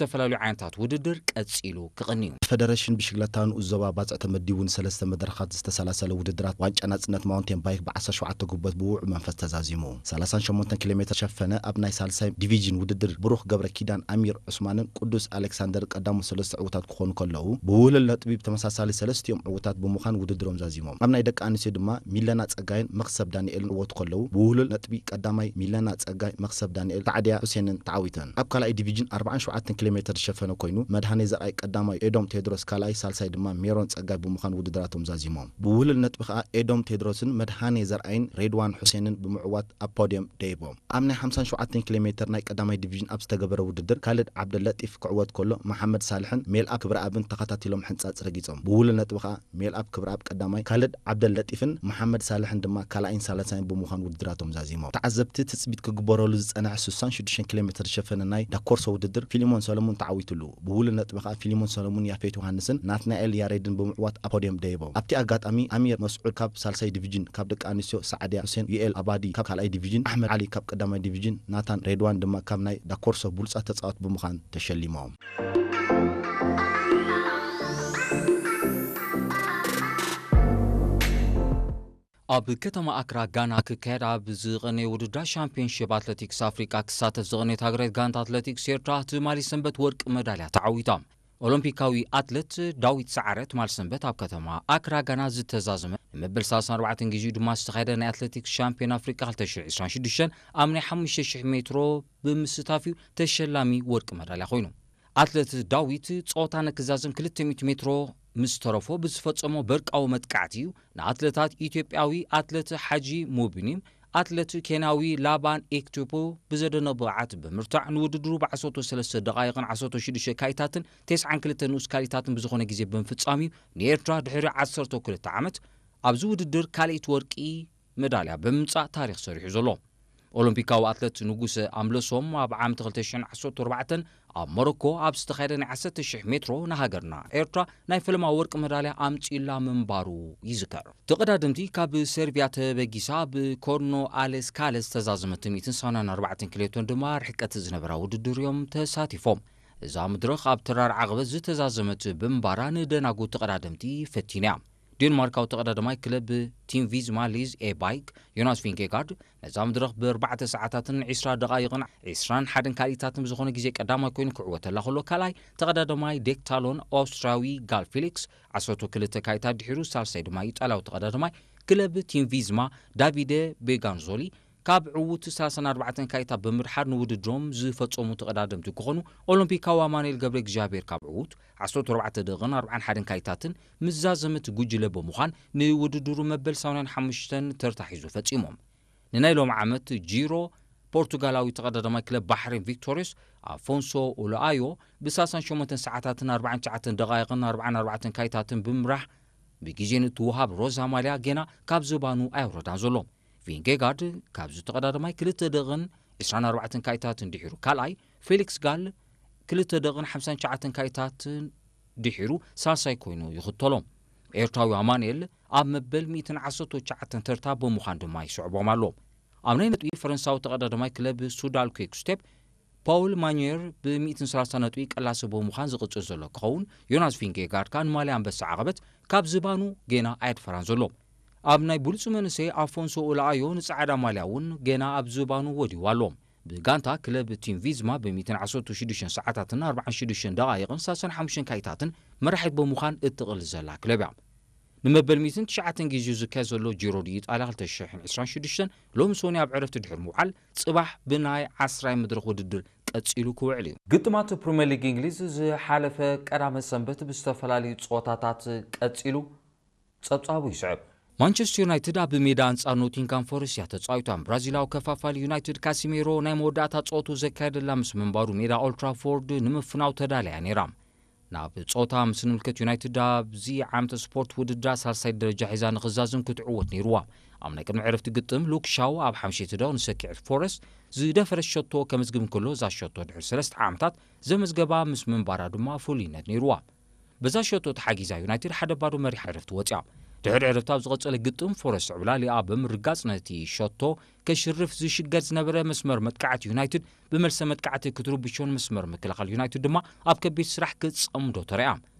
ዝተፈላለዩ ዓይነታት ውድድር ቀጺሉ ክቕኒ እዩ። ፈደረሽን ብሽግለታ ንኡስ ዞባ ባጽዕ ተመዲቡ ንሰለስተ መድረኻት ዝተሰላሰለ ውድድራት ዋንጫ ናጽነት ማውንቴን ባይክ ብ ዓሰርተ ሸውዓተ ጉበት ብውዑ መንፈስ ተዛዚሙ። ሰላሳን ሸሞንተን ኪሎ ሜትር ሸፈነ። ኣብ ናይ ሳልሳይ ዲቪዥን ውድድር ብሩኽ ገብረ ኪዳን ኣሚር ዑስማንን ቅዱስ ኣሌክሳንደር ቀዳሞት ሰለስተ ዕውታት ክኾኑ ከለዉ፣ ብውህሉል ነጥቢ ብተመሳሳሊ ሰለስቲኦም ዕውታት ብምዃን ውድድሮም ዛዚሞም። ኣብ ናይ ደቂ ኣንስትዮ ድማ ሚለና ጸጋይን መኽሰብ ዳንኤልን ክዕወቱ ከለዉ፣ ብውህሉል ነጥቢ ቀዳማይ ሚለና ጸጋይ፣ መኽሰብ ዳንኤል፣ ሳዕድያ ሑሴንን ተዓዊተን። ኣብ ካልኣይ ዲቪዥን ኣርባዓን ሸውዓተን ኪሎ ሜትር ዝሸፈነ ኮይኑ፣ መድሃኔ ዘርኣይ ቀዳማይ፣ ኤዶም ቴድሮስ ካልኣይ፣ ሳልሳይ ድማ ሜሮን ጸጋይ ብምዃን ውድድራቶም ዛዚሞም። ብውህሉል ነጥቢ ከኣ ኤዶም ቴድሮስን መድሃኔ ዘርኣይን ሬድዋን ሑሴንን ብምዕዋት ኣብ ፖድየም ደይቦም። ኣብ ናይ ሓምሳን ሸውዓተን ኪሎ ሜትር ናይ ቀዳማይ ዲቪዥን ኣብ ዝተገበረ ውድድር፣ ካልድ ዓብደለጢፍ ክዕወት ከሎ፣ መሓመድ ሳልሕን ሜልኣብ ክብረኣብን ተኸታቲሎም ሕንጻጽ ረጊጾም። ብውህሉል ነጥቢ ከኣ ሜልኣብ ክብረኣብ ቀዳማይ፣ ካልድ ዓብደል ለጢፍን መሓመድ ሳልሕን ድማ ካልኣይን ሳልሳይን ብምዃን ውድድራቶም ዛዚሞም። ተዓዘብቲ ትጽቢት ክግበረሉ ዝጸንሐ ስሳን ሽዱሽተን ኪሎ ሜትር ዝሸፈነ ናይ ዳኮርሶ ውድድር ፊሊሞን ሰለሙን ተዓዊቱሉ። ብውሉድ ነጥቢ ከኣ ፊሊሞን ሰለሙን፣ ያፌት ዮሃንስን ናትናኤል ያሬድን ብምዕዋት ኣብ ፖድየም ደይቦም። ኣብቲ ኣጋጣሚ ኣሚር መስዑድ ካብ ሳልሳይ ዲቪዥን፣ ካብ ደቂ ኣንስትዮ ሳዕድያ ሁሴን፣ ዩኤል ኣባዲ ካብ ካልኣይ ዲቪዥን፣ ኣሕመድ ዓሊ ካብ ቀዳማይ ዲቪዥን፣ ናታን ሬድዋን ድማ ካብ ናይ ዳኮርሶ ብሉጻት ተጻወት ብምዃን ተሸሊሞም። ኣብ ከተማ ኣክራ ጋና ክካየድ ኣብ ዝቐነየ ውድድር ሻምፒዮንሺፕ ኣትሌቲክስ ኣፍሪቃ ክሳተፍ ዝቐነየት ሃገራዊት ጋንታ ኣትሌቲክስ ኤርትራ ትማሊ ሰንበት ወርቂ መዳልያ ተዓዊታ። ኦሎምፒካዊ ኣትሌት ዳዊት ሰዓረ ትማሊ ሰንበት ኣብ ከተማ ኣክራ ጋና ዝተዛዘመ ንመበል ሰላሳን ኣርባዕተን ግዜኡ ድማ ዝተኻየደ ናይ ኣትሌቲክስ ሻምፒዮን ኣፍሪቃ ክልተ ሽሕን ዕስራን ሽዱሽተን ኣብ ናይ ሓሙሽተ ሽሕ ሜትሮ ብምስታፍ እዩ ተሸላሚ ወርቂ መዳልያ ኮይኑ። ኣትሌት ዳዊት ጾታ ንክዛዘም ክልተ ሚእቲ ሜትሮ ምስ ተረፎ ብዝፈጸሞ በርቃዊ መጥቃዕቲ እዩ ንኣትሌታት ኢትዮጵያዊ ኣትሌት ሓጂ ሙቢኒ፣ ኣትሌት ኬንያዊ ላባን ኤክቱፖ ብዘደንቕ ብቕዓት ብምርታዕ ንውድድሩ ብዓሰርተ ሰለስተ ደቓይቕን ዓሰርተ ሽዱሽተ ካይታትን ተስዓን ክልተ ንኡስ ካልኢታትን ብዝኾነ ግዜ ብምፍጻም እዩ ንኤርትራ ድሕሪ ዓሰርተ ክልተ ዓመት ኣብዚ ውድድር ካልኣይቲ ወርቂ መዳልያ ብምምጻእ ታሪኽ ሰሪሑ ዘሎ። ኦሎምፒካዊ ኣትሌት ንጉሰ ኣምለሶም ኣብ ዓመት ክልተ ሽሕን ዓሰርተ ኣርባዕተን ኣብ ሞሮኮ ኣብ ዝተኻየደ ናይ ዓሰርተ ሽሕ ሜትሮ ንሃገርና ኤርትራ ናይ ፈለማ ወርቂ መዳልያ ኣምጺኡላ ምንባሩ ይዝከር። ተቐዳደምቲ ካብ ሰርቢያ ተበጊሳ ብኮርኖ ኣሌስ ካለ ዝተዛዘመት ሚእትን ሰማንያን ኣርባዕተን ኪሎ ሜትር ድማ ርሕቀት ዝነበራ ውድድር እዮም ተሳቲፎም። እዛ መድረኽ ኣብ ተራር ዓቐበት ዝተዛዘመት ብምንባራ ንደናጉ ተቐዳደምቲ ፈቲና እያ። ዴንማርካዊ ተቐዳዳማይ ክለብ ቲም ቪዝማ ሊዝ ኤ ባይክ ዮናስ ቪንጌጋርድ ነዛ መድረኽ ብኣርባዕተ ሰዓታትን ዕስራ ደቓይቕን ዕስራን ሓደን ካልኢታትን ብዝኾነ ግዜ ቀዳማይ ኮይኑ ክዕወተላ ከሎ፣ ካልኣይ ተቐዳዳማይ ዴክታሎን ኣውስትራዊ ጋል ፊሊክስ ዓሰርተ ክልተ ካይታት ድሒሩ፣ ሳልሳይ ድማ ኢጣልያዊ ተቐዳዳማይ ክለብ ቲም ቪዝማ ዳቪደ ቤጋንዞሊ ካብ ዕዉት ሰላሳን ኣርባዕተን ካይታ ብምድሓር ንውድድሮም ዝፈጸሙ ተቐዳደምቲ ክኾኑ፣ ኦሎምፒካዊ ኣማኑኤል ገብረ እግዚኣብሔር ካብ ዕዉት ዓሰርተ ኣርባዕተ ደቕን ኣርባዓን ሓደን ካይታትን ምስ ዛዘመት ጉጅለ ብምዃን ንውድድሩ መበል ሰማንያን ሓሙሽተን ተርታ ሒዙ ፈጺሞም። ንናይ ሎም ዓመት ጂሮ ፖርቱጋላዊ ተቐዳዳማይ ክለብ ባሕሬን ቪክቶሪዮስ ኣፎንሶ ኡልኣዮ ብሰላሳን ሸሞንተን ሰዓታትን ኣርባዓን ትሽዓተን ደቓይቕን ኣርባዓን ኣርባዕተን ካይታትን ብምምራሕ ብግዜ ንእትወሃብ ሮዛ ማልያ ጌና ካብ ዝባኑ ኣየውረዳን ዘሎ። ቪንጌጋርድ ካብዚ ተቐዳዳማይ ክልተ ደቕን ዕስራን ኣርባዕተን ካይታትን ድሒሩ ካልኣይ፣ ፌሊክስ ጋል ክልተ ደቕን ሓምሳን ትሽዓተን ካይታትን ድሒሩ ሳልሳይ ኮይኑ ይኽተሎ። ኤርትራዊ ኣማኑኤል ኣብ መበል ሚእትን ዓሰርተ ትሽዓተን ተርታ ብምዃን ድማ ይስዕቦም ኣሎ። ኣብ ናይ ነጥቢ ፈረንሳዊ ተቐዳዳማይ ክለብ ሱዳል ኩክ ስቴፕ ፓውል ማኑየር ብ ሚእትን ሰላሳን ነጥቢ ቀላሲ ብምዃን ዝቕጽል ዘሎ ክኸውን፣ ዮናስ ቪንጌጋርድ ከኣ ንማልያ ኣንበሳ ዓቐበት ካብ ዝባኑ ጌና ኣየድፈራን ዘሎ። ኣብ ናይ ብሉጽ መንእሰይ ኣፎንሶ ኡልኣዮ ንጻዕዳ ማልያ እውን ጌና ኣብ ዝባኑ ወዲዋ ኣሎ። ብጋንታ ክለብ ቲም ቪዝማ ብ ሚእትን ዓሰርተ ሽዱሽተን ሰዓታትን ኣርባዓን ሽዱሽተን ደቓይቕን ሰላሳን ሓሙሽተን ካይታትን መራሒት ብምዃን እትቕል ዘላ ክለብ እያ። ንመበል ሚእትን ትሽዓተን ግዜኡ ዝካየድ ዘሎ ጂሮ ዲ ኢጣልያ ክልተ ሽሕን ዕስራን ሽዱሽተን ሎሚ ሰኑይ ኣብ ዕረፍቲ ድሕሪ ምውዓል፣ ጽባሕ ብናይ ዓስራይ መድረኽ ውድድር ቀጺሉ ክውዕል እዩ። ግጥማት ፕሪምየር ሊግ እንግሊዝ ዝሓለፈ ቀዳመ ሰንበት ብዝተፈላለዩ ጸወታታት ቀጺሉ ጸብጻቡ ይስዕብ። ማንቸስተር ዩናይትድ ኣብ ሜዳ ኣንጻር ኖቲንጋም ፎረስት እያ ተጻዊታ። ብራዚላዊ ከፋፋሊ ዩናይትድ ካሲሜሮ ናይ መወዳእታ ጸወቱ ዘካየደላ ምስ ምንባሩ፣ ሜዳ ኦልትራፎርድ ንምፍናው ተዳልያ ነይራ። ናብ ጸወታ ምስ ንምልከት፣ ዩናይትድ ኣብዚ ዓመተ ስፖርት ውድድራ ሳልሳይ ደረጃ ሒዛ ንኽዛዝም ክትዕወት ነይርዋ። ኣብ ናይ ቅድሚ ዕረፍቲ ግጥም፣ ሉክ ሻው ኣብ ሓምሸይቲ ደቕ ንሰኪዐት ፎረስት ዝደፈረት ሸቶ ከመዝግብ እንከሎ፣ እዛ ሸቶ ድሕሪ ሰለስተ ዓመታት ዘመዝገባ ምስ ምንባራ ድማ ፍሉይነት ነይርዋ። በዛ ሸቶ ተሓጊዛ ዩናይትድ ሓደ ባዶ መሪሕ ዕረፍቲ ወጽያ። ድሕሪ ዕረፍቲ ኣብ ዝቐጸለ ግጥም፣ ፎረስት ዕብላሊኣ ብምርጋጽ ነቲ ሸቶ ከሽርፍ ዝሽገር ዝነበረ መስመር መጥቃዕቲ ዩናይትድ ብመልሰ መጥቃዕቲ ክትርብሾን መስመር ምክልኻል ዩናይትድ ድማ ኣብ ከቢድ ስራሕ ክጸምዶ ተረያ።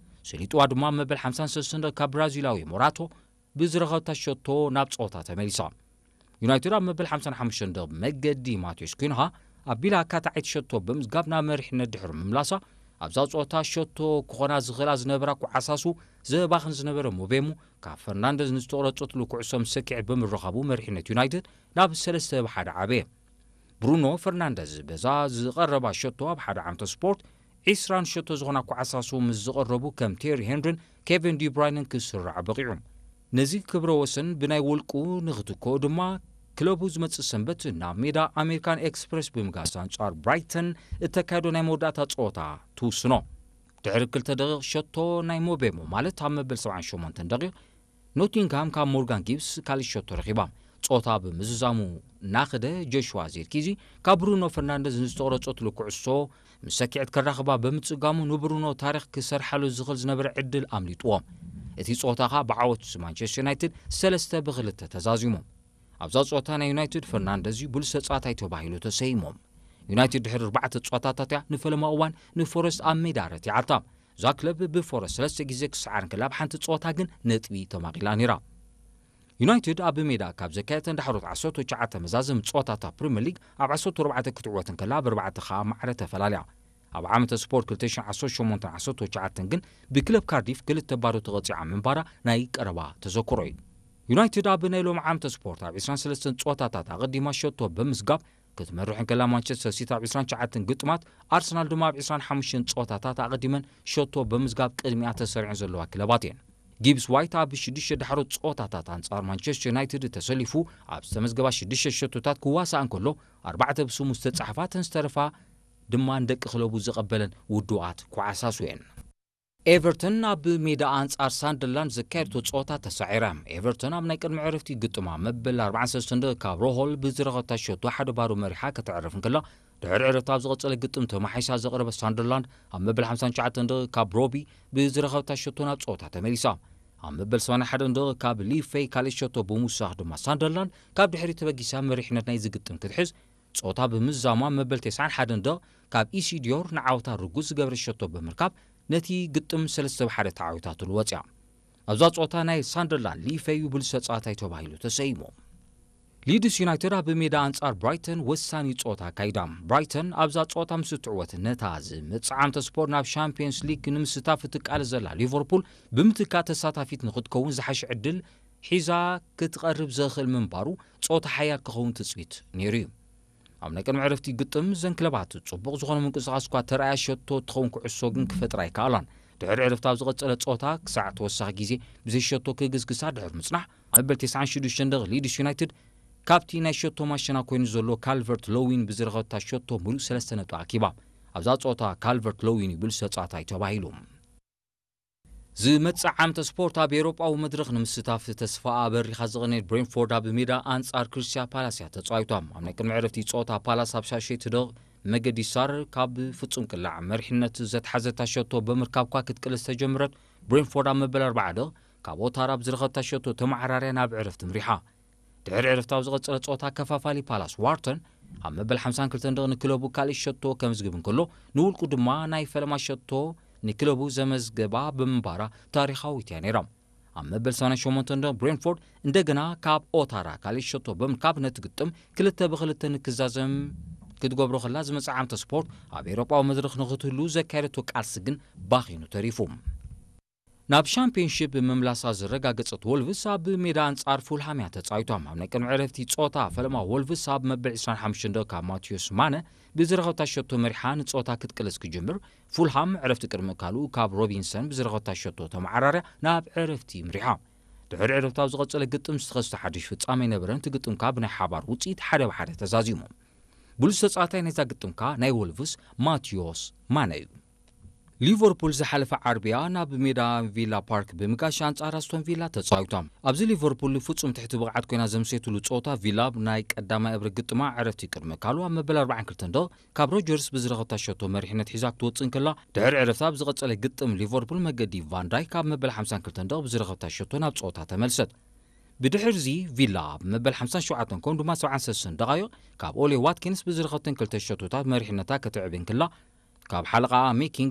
ስሊጥዋ ድማ ኣብ መበል ሓምሳን ሰለስተን ካብ ብራዚላዊ ሞራቶ ብዝረኸብታ ሸቶ ናብ ጸወታ ተመሊሳ። ዩናይትድ ኣብ መበል ሓምሳን ሓሙሽተን ደቕ መገዲ ማቴዎስ ኩንሃ ኣቢላ ኣካታዓይቲ ሸቶ ብምዝጋብ ናብ መሪሕነት ድሕሪ ምምላሳ፣ ኣብዛ ጸወታ ሸቶ ክኾና ዝኽእላ ዝነበራ ኩዓሳሱ ዘባኽን ዝነበረ ሞቤሙ፣ ካብ ፈርናንደዝ ንዝተቖረጸትሉ ኩዕሶ ምስ ሰኪዐት ብምርኻቡ መሪሕነት ዩናይትድ ናብ ሰለስተ ብ ሓደ ዓበየ። ብሩኖ ፈርናንደዝ በዛ ዝቐረባ ሸቶ ኣብ ሓደ ዓመተ ስፖርት ዒስራን ሸቶ ዝኾና ኩዓሳሱ ምስ ዝቐረቡ ከም ቴሪ ሄንሪን ኬቨን ዲብራይንን ክስራዕ በቒዑ። ነዚ ክብረ ወሰን ብናይ ውልቁ ንኽትክኦ ድማ ክለቡ ዝመጽእ ሰንበት ናብ ሜዳ ኣሜሪካን ኤክስፕረስ ብምጋስ ኣንጻር ብራይተን እተካየዶ ናይ መወዳእታ ጸወታ ትውስኖ። ድሕሪ ክልተ ደቂቕ ሸቶ ናይ ሞቤሞ ማለት ኣብ መበል ሰብዓን ሸሞንተን ደቂቕ ኖቲንግሃም ካብ ሞርጋን ጊብስ ካልእ ሸቶ ረኺባ። ጸወታ ብምዝዛሙ እናኸደ ጆሽዋ ዚርኪዚ ካብ ብሩኖ ፈርናንደዝ ንዝተቖረጸትሉ ኩዕሶ ምስ ሰኪዐት ከራኽባ ብምጽጋሙ ንብሩኖ ታሪኽ ክሰርሓሉ ዝኽእል ዝነበረ ዕድል ኣምሊጥዎ። እቲ ጸወታ ኸኣ ብዓወት ማንቸስተር ዩናይትድ ሰለስተ ብ ክልተ ተዛዚሙ። ኣብዛ ጸወታ ናይ ዩናይትድ ፈርናንደዝ እዩ ብሉጽ ተጻዋታይ ተባሂሉ ተሰይሙ። ዩናይትድ ድሕሪ ኣርባዕተ ጸወታታት እያ ንፈለማ እዋን ንፎረስት ኣብ ሜዳ ረቲዓታ። እዛ ክለብ ብፎረስት ሰለስተ ግዜ ክሰዓር እንከላ፣ ኣብ ሓንቲ ጸወታ ግን ነጥቢ ተማቒላ ነይራ። ዩናይትድ ኣብ ሜዳ ካብ ዘካየተን ዳሕሮት ዓሰርተ ትሽዓተ መዛዘም ጸወታታት ፕሪምየር ሊግ ኣብ ዓሰርተ ኣርባዕተ ክትዕወት እንከላ፣ ኣብ ኣርባዕተ ኸኣ ማዕረ ተፈላልያ። ኣብ ዓመተ ስፖርት ክልተ ሽሕን ዓሰርተ ሸሞንተን ዓሰርተ ትሽዓተን ግን ብክለብ ካርዲፍ ክልተ ባዶ ተቐጺዓ ምንባራ ናይ ቀረባ ተዘክሮ እዩ። ዩናይትድ ኣብ ናይ ሎም ዓመተ ስፖርት ኣብ ዒስራን ሰለስተን ጸወታታት ኣቐዲማ ሸቶ ብምዝጋብ ክትመርሕ እንከላ፣ ማንቸስተር ሲቲ ኣብ ዒስራን ትሽዓተን ግጥማት፣ ኣርሰናል ድማ ኣብ ዒስራን ሓሙሽተን ጸወታታት ኣቐዲመን ሸቶ ብምዝጋብ ቅድሚኣ ተሰሪዐን ዘለዋ ክለባት እየን። ጊብስ ዋይት ኣብ ሽዱሽተ ዳሕሮት ጸወታታት ኣንጻር ማንቸስተር ዩናይትድ ተሰሊፉ ኣብ ዝተመዝገባ ሽዱሽተ ሸቶታት ክዋሳእ እንከሎ፣ ኣርባዕተ ብስሙ ዝተጻሕፋ፣ እተን ዝተረፋ ድማ ንደቂ ክለቡ ዝቐበለን ውዱኣት ኩዓሳሱ እየን። ኤቨርተን ኣብ ሜዳ ኣንጻር ሳንደርላንድ ዘካየድቶ ጸወታ ተሳዒራ። ኤቨርተን ኣብ ናይ ቅድሚ ዕረፍቲ ግጥማ መበል ኣርባዓን ሰለስተን ደቂቕ ካብ ሮሆል ብዝረኸብታ ሸቶ ሓደ ባዶ መሪሓ ከተዕርፍ እንከላ፣ ድሕሪ ዕረፍቲ ኣብ ዝቐጸለ ግጥም ተማሒሳ ዘቕረበት ሳንደርላንድ ኣብ መበል ሓምሳን ትሽዓተን ደቂቕ ካብ ሮቢ ብዝረኸብታ ሸቶ ናብ ጸወታ ተመሊሳ። ኣብ መበል ሰማንያን ሓደን ደቂቕ ካብ ሊፌይ ካልእ ሸቶ ብምውሳኽ ድማ ሳንደርላንድ ካብ ድሕሪት ተበጊሳ መሪሕነት ናይዚ ግጥም ክትሕዝ ጸወታ ብምዝዛማ መበል ተስዓን ሓደን ደቕ ካብ ኢሲዲዮር ንዓወታ ርጉዝ ዝገበረ ሸቶ ብምርካብ ነቲ ግጥም ሰለስተ ብ ሓደ ተዓዊታትሉ ወጽያ። ኣብዛ ጸወታ ናይ ሳንደርላንድ ሊፈዩ ብሉጽ ተጻዋታይ ተባሂሉ ተሰይሙ። ሊድስ ዩናይትድ ኣብ ሜዳ ኣንጻር ብራይተን ወሳኒ ጸወታ ኣካይዳ። ብራይተን ኣብዛ ጸወታ ምስ እትዕወት ነታ ዝመጽእ ዓመተ ስፖርት ናብ ሻምፒየንስ ሊግ ንምስታፍ እትቃለስ ዘላ ሊቨርፑል ብምትካእ ተሳታፊት ንኽትከውን ዝሓሸ ዕድል ሒዛ ክትቐርብ ዘኽእል ምንባሩ ጸወታ ሓያል ክኸውን ትጽቢት ነይሩ እዩ። ኣብ ናይ ቅድሚ ዕረፍቲ ግጥም እዘን ክለባት ጽቡቕ ዝኾነ ምንቅስቓስ እኳ ተራእያ፣ ሸቶ እትኸውን ኩዕሶ ግን ክፈጥራ ኣይከኣላን። ድሕሪ ዕረፍቲ ኣብ ዝቐጸለ ጸወታ ክሳዕ ተወሳኺ ግዜ ብዘይ ሸቶ ክግስግሳ ድሕሪ ምጽናሕ፣ ኣብ መበል ተስዓን ሽዱሽተን ደቒቕ ሊድስ ዩናይትድ ካብቲ ናይ ሸቶ ማሸና ኮይኑ ዘሎ ካልቨርት ሎዊን ብዝረኸብታ ሸቶ ምሉእ ሰለስተ ነጥቢ ኣኪባ። ኣብዛ ጸወታ ካልቨርት ሎዊን እዩ ብሉጽ ተጻዋታይ ተባሂሉ። ዝመጽእ ዓመተ ስፖርት ኣብ ኤውሮጳዊ መድረኽ ንምስታፍ ተስፋኣ ኣበሪኻ ዝቐነየት ብሬንፎርድ ኣብ ሜዳ ኣንጻር ክሪስታል ፓላስ እያ ተጻዊታ። ኣብ ናይ ቅድሚ ዕረፍቲ ጸወታ ፓላስ ኣብ ሻሸይቲ ደቕ መገዲ ሳር ካብ ፍጹም ቅላዕ መሪሕነት ዘትሓዘታ ሸቶ ብምርካብ እኳ ክትቅልስ ተጀምረት፣ ብሬንፎርድ ኣብ መበል ኣርባዓ ደቕ ካብ ኦታራ ብዝረኸብታ ሸቶ ተመዓራርያ ናብ ዕረፍቲ ምሪሓ። ድሕሪ ዕረፍቲ ኣብ ዝቐጸለ ጸወታ ከፋፋሊ ፓላስ ዋርተን ኣብ መበል ሓምሳን ክልተን ደቕ ንክለቡ ካልእ ሸቶ ከምዝግብ እንከሎ፣ ንውልቁ ድማ ናይ ፈለማ ሸቶ ንክለቡ ዘመዝገባ ብምንባራ ታሪኻዊት እያ ነይራ። ኣብ መበል ሰማንያን ሸሞንተን ደቕ ብሬንፎርድ እንደገና ካብ ኦታራ ካልእ ሸቶ ብምርካብ ነቲ ግጥም ክልተ ብ ክልተ ንክዛዘም ክትገብሮ ከላ፣ ዝመጽእ ዓመተ ስፖርት ኣብ ኤውሮጳዊ መድረኽ ንኽትህሉ ዘካየደቶ ቃልሲ ግን ባኺኑ ተሪፉ። ናብ ሻምፒዮንሺፕ ምምላሳ ዘረጋገጸት ወልቭስ ኣብ ሜዳ ኣንጻር ፉልሃም እያ ተጻዊታ። ኣብ ናይ ቅድሚ ዕረፍቲ ጸወታ ፈለማ ወልቭስ ኣብ መበል ዒስራን ሓሙሽተን ደቂቕ ካብ ማቴዎስ ማነ ብዝረኸብታ ሸቶ መሪሓ ንጸወታ ክትቅልስ ክጅምር፣ ፉልሃም ዕረፍቲ ቅድሚ ምእካሉ ካብ ሮቢንሰን ብዝረኸብታ ሸቶ ተመዓራርያ ናብ ዕረፍቲ ምሪሓ። ድሕሪ ዕረፍቲ ኣብ ዝቐጸለ ግጥም ዝተኸስተ ሓድሽ ፍጻመ ኣይነበረን። እቲ ግጥም ከኣ ብናይ ሓባር ውጽኢት ሓደ ብ ሓደ ተዛዚሙ። ብሉጽ ተጻዋታይ ናይዛ ግጥም ከኣ ናይ ወልቭስ ማቴዎስ ማነ እዩ። ሊቨርፑል ዝሓለፈ ዓርብያ ናብ ሜዳ ቪላ ፓርክ ብምጋሽ ኣንጻር ኣስቶን ቪላ ተጻዊታ። ኣብዚ ሊቨርፑል ፍጹም ትሕቲ ብቕዓት ኮይና ዘምሴትሉ ጸወታ፣ ቪላ ናይ ቀዳማይ እብሪ ግጥማ ዕረፍቲ ቅድሚ ካልዋ መበል ኣርባዓን ክልተን ደቕ ካብ ሮጀርስ ብዝረኸብታ ሸቶ መሪሕነት ሒዛ ክትወጽእ እንከላ፣ ድሕሪ ዕረፍታ ብዝቐጸለ ግጥም ሊቨርፑል መገዲ ቫን ዳይክ ካብ መበል ሓምሳን ክልተን ደቕ ብዝረኸብታ ሸቶ ናብ ጸወታ ተመልሰት። ብድሕርዚ ቪላ ኣብ መበል ሓምሳን ሸውዓተን ከምኡ ድማ ሰብዓን ሰለስተን ደቓይቕ ካብ ኦሌ ዋትኪንስ ብዝረኸብተን ክልተ ሸቶታት መሪሕነታ ክትዕቢ እንከላ፣ ካብ ሓለቓኣ ሜኪን